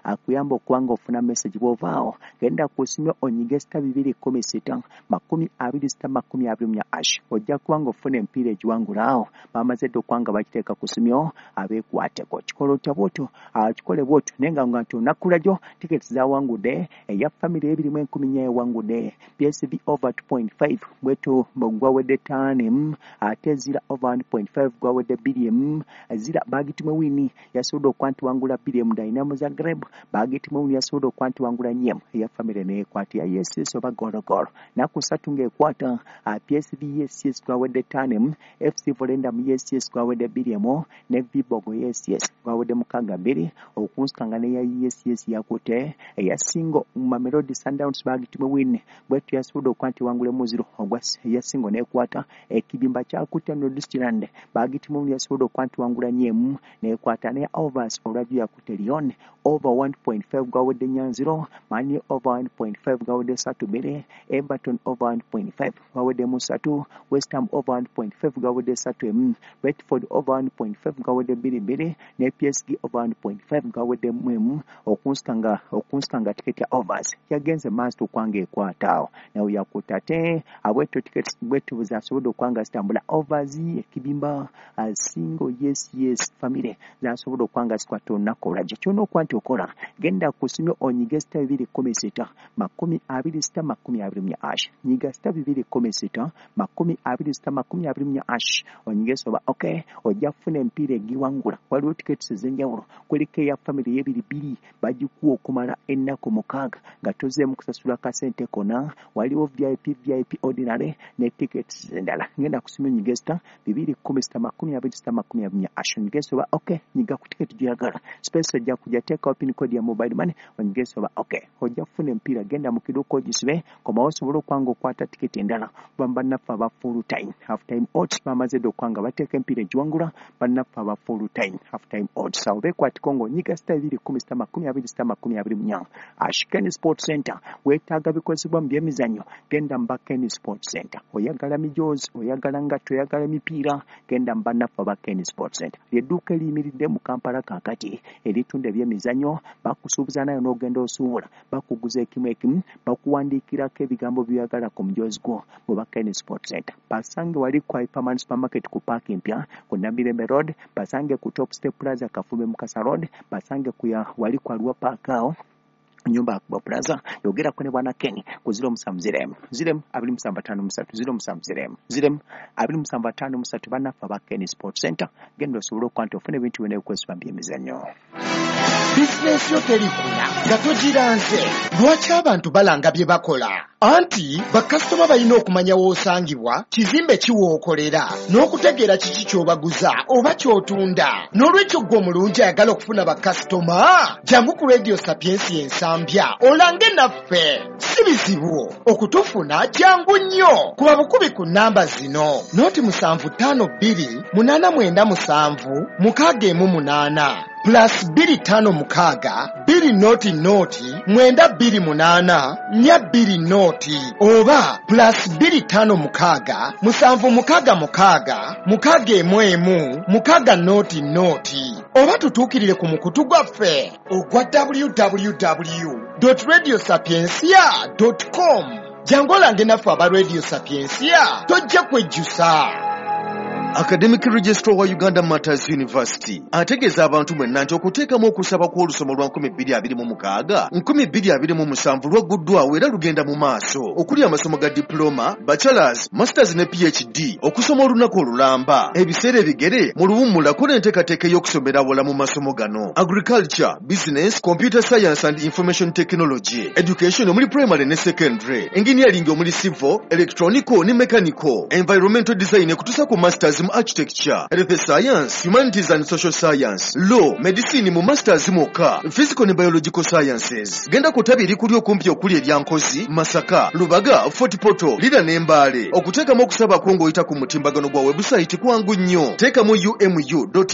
Akuyamba okuba nga ofuna message bw'ovaawo. Genda ku ssimu onyige *216 26 24 hash, ojja kuba nga ofuna emipiira egiwangula. Awo bamaze dda okuba nga bakiteeka ku ssimu, abeekwateko. Kikola otya bwotyo? Kikole bwotyo, naye nga nti olunaku lwajjo tiketi zawangudde eya family ebirimu 4,000, ewangudde PSV over 2.5, bwetu gwawedde 5, ate zira over 1.5 gwawedde 2, zira bagitimwe win yasobodde okuba nti wangula 2, Dynamo Zagreb bagitimwe win yasobodde okuba nti wangula 4, eya family neekwata ya yes oba gologolo naku 3 ng'ekwata PSV yes gwawedde 5, FC Volendam yes gwawedde 2, ne Viborg yes gwawedde 6 2, okunsikanga neya yes yakutte eya single Mamelodi Sundowns bagitimwe win, bwetu yasobodde okuba nti wangula muziro ogwa eya single neekwata. Ekibimba kyakutte Nordsjælland bagitimwe win yasobodde okuba nti wangula 4 neekwata, ne overs olwajjo yakutte Lyon over 1.5 gwawedde 4-0, Man over 1.5 gwawedde 3-2, Everton over 1.5 gwawedde 3, West Ham over 1.5 gwawedde 3, Brentford over 1.5 gwawedde 2-2, ne PSG over 1.5 gwawedde 1, okunsikanga tiketi ya overs yagenze maaso okwanga ekwata awo nawe yakutte. Ate abwetyo tiketi bwetu zasobodde okwanga zitambula, overs, ekibimba, single, yes, family zasobodde okwanga zikwata olunaku olwajjo. Kyonna okuba nti okola, genda ku ssimu onyige *216 26 24 hash. Nyiga *216 26 24 hash, onyige soba okay, ojja kufuna emipiira egiwangula. Waliwo tiketi ez'enjawulo, kuliko eya family y'ebiri bbiri, bagikuwa okumala ennaku 6 nga tozeemu kusasula kasente konna. Waliwo VIP, VIP ordinary ne tickets endala. Ngenda ku ssimu onyige *216 26 24 hash, onyige soba okay. Nyiga ku tiketi gy'oyagala, space ejja kujja, teekawo pin code ya mobile money, onyige soba okay, ojja kufuna emipiira. Genda mu kiduuka ogisibe, komawo osobole okuba nga okwata tiketi endala. Kuba bannaffe aba full time, half time odds bamaze dda okuba nga bateeka emipiira egiwangula. Bannaffe aba full time, half time odds awo beekwatiko ng'onyiga *216 26 24 hash. Ken Sport Center, weetaaga bikozesebwa mu byemizannyo, genda mu ba Ken Sport Center. Oyagala mijoozi, oyagala ngatto, oyagala emipiira, genda mu bannaffe aba Ken Sport Center. Lyedduuka eriyimiridde mu Kampala kaakati eritunda ebyemizannyo. Bakusuubuza nayo n'ogenda osuubula, bakuguza ekimu ekimu, bakuwandiikirako ebigambo by'oyagala ku mujoozi gwo. Mu ba Ken Sport Center basange wali ku Hyperman Supermarket ku paaki empya ku Namirembe Road, basange ku Top Step Plaza Kafumbe Mukasa Road, basange ku ya wali ku Arua Park awo nyumba ya Plaza. Yogerako ne bwana Ken ku 07 0 0 27 53, 07 0 0 27 53. Bannaffe aba Ken Sport Center, genda osobole okuba nti ofuna ebintu byonna ebikozesebwa mu byemizannyo. Bizinensi yo terikula nga togiranze. Lwaki abantu balanga bye bakola? Anti bakasitoma balina okumanya w'osangibwa, kizimbe ki w'okolera, n'okutegeera kiki ky'obaguza oba ky'otunda. N'olwekyo ggwe omulungi ayagala okufuna bakasitoma, jangu ku Radio Sapiensi Ensambya olange naffe. Si bizibu okutufuna, jangu nnyo. Kuba bukubi ku nnamba zino: 0752 897 618, +256 200 928 420, oba +256 766 611 600, oba tutuukirire ku mukutu gwaffe ogwa www radio sapiencia com. Jangu olange naffe aba Radio Sapiencia, tojja kwejjusa. Academic Registrar wa Uganda Martyrs University ategeeza abantu mwenna nti okuteekamu okusaba kw'olusoma lwa 2026 2027 lwagguddwawo era lugenda mu maaso, okuli amasomo ga diploma, bachelors, masters ne PhD, okusoma olunaku olulamba, ebiseera ebigere, mu luwummula kola enteekateeka ey'okusomera awala mu masomo gano: agriculture, business, computer science and information technology, education omuli primary ne secondary, engineering omuli civil, electronical ne mechanical, environmental design ekutuusa ku masters mu architecture, health science, humanities and social science, law, medicine mu masters mwokka, physical ne biological sciences. Genda ku ttabi erikuli okumpi okuli erya Nkozi, Masaka, Lubaga, Fort Portal, Lira ne Mbaale. Okuteekamu okusaba kwo ng'oyita ku mutimbagano gwa webusayiti kwangu nnyo. Teekamu umu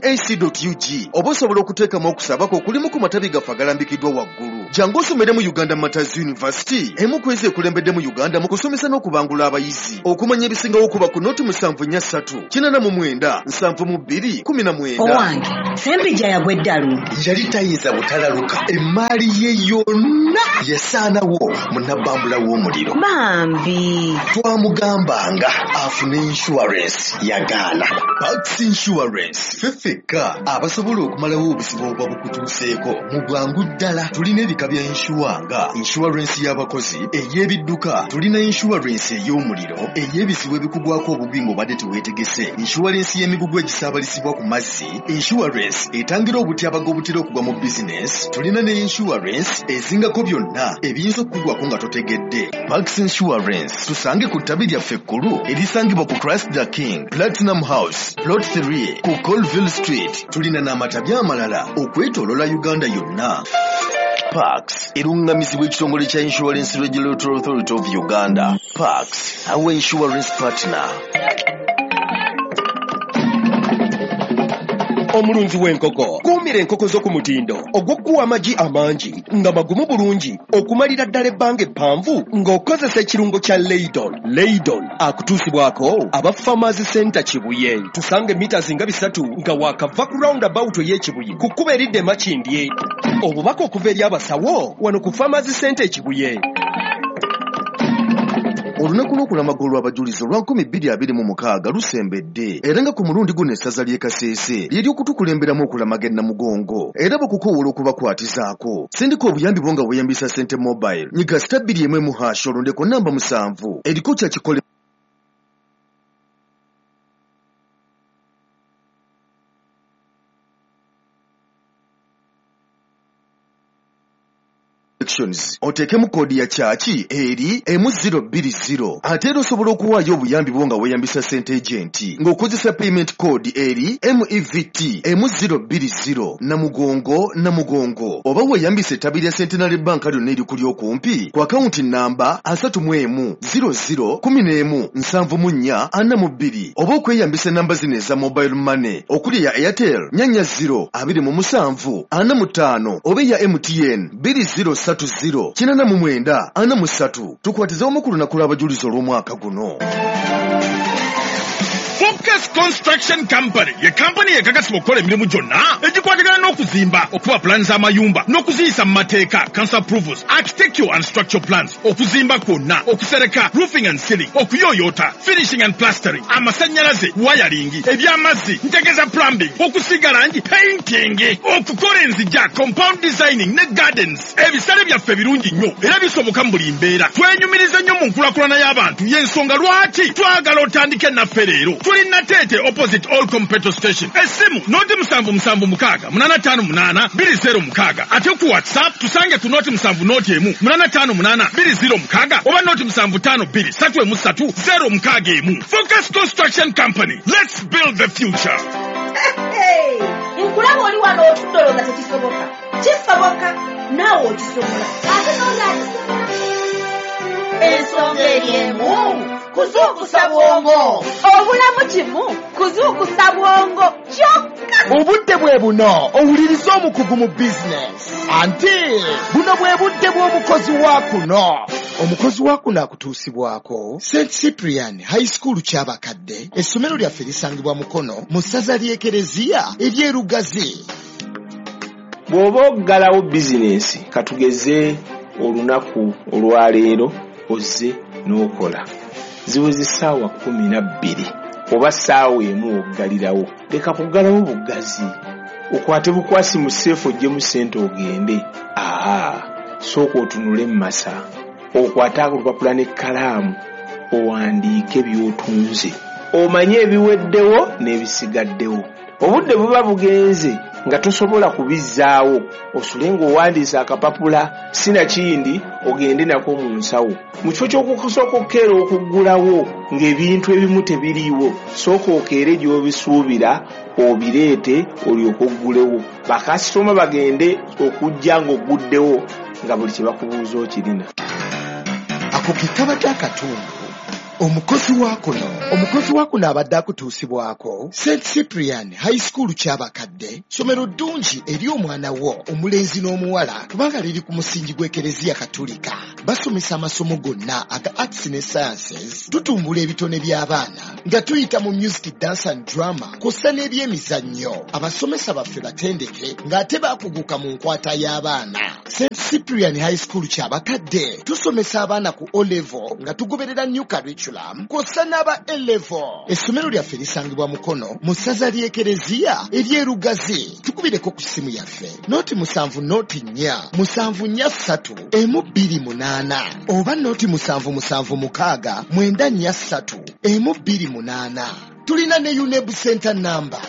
ac ug, oba osobola okuteekamu okusaba kwo okulimu ku matabi gaffe agalambikiddwa waggulu. Jangu osomere mu Uganda Martyrs University, emu ku ezo ekulembedde mu Uganda mu kusomesa n'okubangula abayizi. Okumanya ebisingawo kuba ku 073 89 72 19. Owange, Ssempijja yagwa eddalu. Yali tayinza butalaluka, emmaali ye yonna yasaanawo mu nabbambula w'omuliro. Bambi. Twamugambanga afune insurance, yagaana. Pax Insurance, ffe ffekka abasobola okumalawo obuzibu obuba bukutuuseeko mu bwangu ddala. Tulina ebika bya insure nga insurance y'abakozi, ey'ebidduka, tulina insurance ey'omuliro, ey'ebizibu ebikugwako obugwi ng'obadde teweetegese, insurance y'emigugu egisaabalizibwa ku mazzi, insurance etangira obutyabaga obutera okugwa mu bizinesi, tulina ne insurance ezingako byonna ebiyinza okukugwako nga totegedde. Pax Insurance, tusange ku ttabi lyaffe ekkulu erisangibwa ku Christ the King Platinum House, Plot 3 ku Colville Street. Tulina n'amatabi amalala okwetooloola Uganda yonna. Pax erungamizibwa ekitongole kya Insurance Regulatory Authority of Uganda. Pax, our insurance partner. Omulunzi w'enkoko, kuumira enkoko zo ku mutindo ogw'okuwa amagi amangi nga magumu bulungi okumalira ddala ebbanga eppanvu ng'okozesa ekirungo kya Leidon. Leidon akutuusibwako aba Farmers Center Kibuye. Tusanga emita zinga 3 nga waakava ku roundabout ey'Ekibuye ku kkubo eridda e Makindye. Obubaka okuva eri abasawo wano ku Farmers Center e Kibuye. Olunaku lw'okulamaga olw'abajulizi olwa 2026 lusembedde, era nga ku mulundi guno essaza ly'e Kasese ly'ery'okutukulemberamu okulamaga e Namugongo, era bakukoowoola okubakwatizaako. Sindika obuyambi bwo nga weeyambisa Ssente Mobile. Nyiga *211# olondeko namba 7 eriko kyakikole. Oteekemu koodi ya kyaki eri M020. Ate era osobola okuwaayo obuyambi bwo nga weeyambisa Ssente Agent ng'okozesa payment code eri MEVT M020 Namugongo Namugongo, oba weeyambisa ettabi lya Centenary Bank lyonna erikuli okumpi ku akawunti namba 31 00 11 74 42, oba okweyambisa enamba zino eza mobile money okuli eya Airtel 0 27 45 oba eya MTN 2030 89 43. Tukwatize wamu ku lunaku lw'abajulizi olw'omwaka guno. Focus Construction Company ye kampani ekakasibwa okukola emirimu gyonna egikwatagana n'okuzimba, okuba pulaani z'amayumba n'okuziyisa mu mateeka, council approvals, architectural and structural plans, okuzimba kwonna, okusereka, roofing and ceiling, okuyooyoota, finishing and plastering, amasannyalaze, wiring, eby'amazzi, ntegeeza plumbing, okusiiga langi, painting, okukola enzija, compound designing ne gardens. Ebisale byaffe birungi nnyo era bisoboka mu buli mbeera. Twenyumiriza nnyo mu nkulakulana y'abantu, y'ensonga lwaki twagala otandike naffe leero. Tuli Nateete opposite Allcom petrol station. Essimu 077 6 858 206. Ate ku WhatsApp tusange ku 071 858 206 oba 075 2 3 061. Focus Construction Company. Let's build the future. Nkulaba oli wano otudde olowooza tekisoboka. Kisoboka, naawe okisobola. Ate n'oli akisobola. Ensonga eri emu, kuzuukusa bwongo. Obulamu kimu, kuzuukusa bwongo kyokka. Obudde bwe buno owuliriza omukugu mu bizinesi. Anti buno bwe budde bw'omukozi wa kuno. Omukozi wa kuno akutuusibwako St Cyprian High School Kyabakadde. Essomero lyaffe lisangibwa Mukono mu ssaza ly'Ekereziya ery'Erugazi. Bw'oba oggalawo bizinensi, katugeze olunaku olwaleero ozze n'okola, ziweze ssaawa 12 oba ssaawa 1 oggalirawo. Leka kuggalawo buggazi, okwate bukwasi mu seefu oggyemu ssente ogende. Aa, sooka otunule mu masa, okwate olupapula n'ekkalaamu owandiike by'otunze, omanye ebiweddewo n'ebisigaddewo. Obudde buba bugenze nga tosobola kubizzaawo, osule ng'owandiise akapapula sinakindi ogende nako mu nsawo. Mu kifo ky'okusooka okukeera okuggulawo ng'ebintu ebimu tebiriiwo, sooka okeere gy'obisuubira obireete olyoke oggulewo. Bakasitoma bagende okujja ng'ogguddewo nga buli kye bakubuuza okirina. Ako ke kabadde akatundu Omukozi wa kuno, omukozi wa kuno abadde akutuusibwako St Cyprian High School Kyabakadde, ssomero ddungi eri omwana wo omulenzi n'omuwala kubanga liri ku musingi gw'Ekereziya Katulika. Basomesa amasomo gonna aga arts ne sciences, tutumbula ebitone by'abaana nga tuyita mu music, dance and drama kw'ossa n'ebyemizannyo. Abasomesa baffe batendeke ng'ate baakuguka mu nkwata y'abaana. St Cyprian High School Kyabakadde tusomesa abaana ku O level nga tugoberera new curriculum kw'ossa n'aba A level. Essomero lyaffe lisangibwa Mukono mu ssaza ly'Ekereziya ery'e Lugazi. Tukubireko ku ssimu yaffe 0 7 0 4 7 4 3 1 2 8 oba 0 7 7 6 9 4 3 1 2 8. Tulina ne UNEB center number.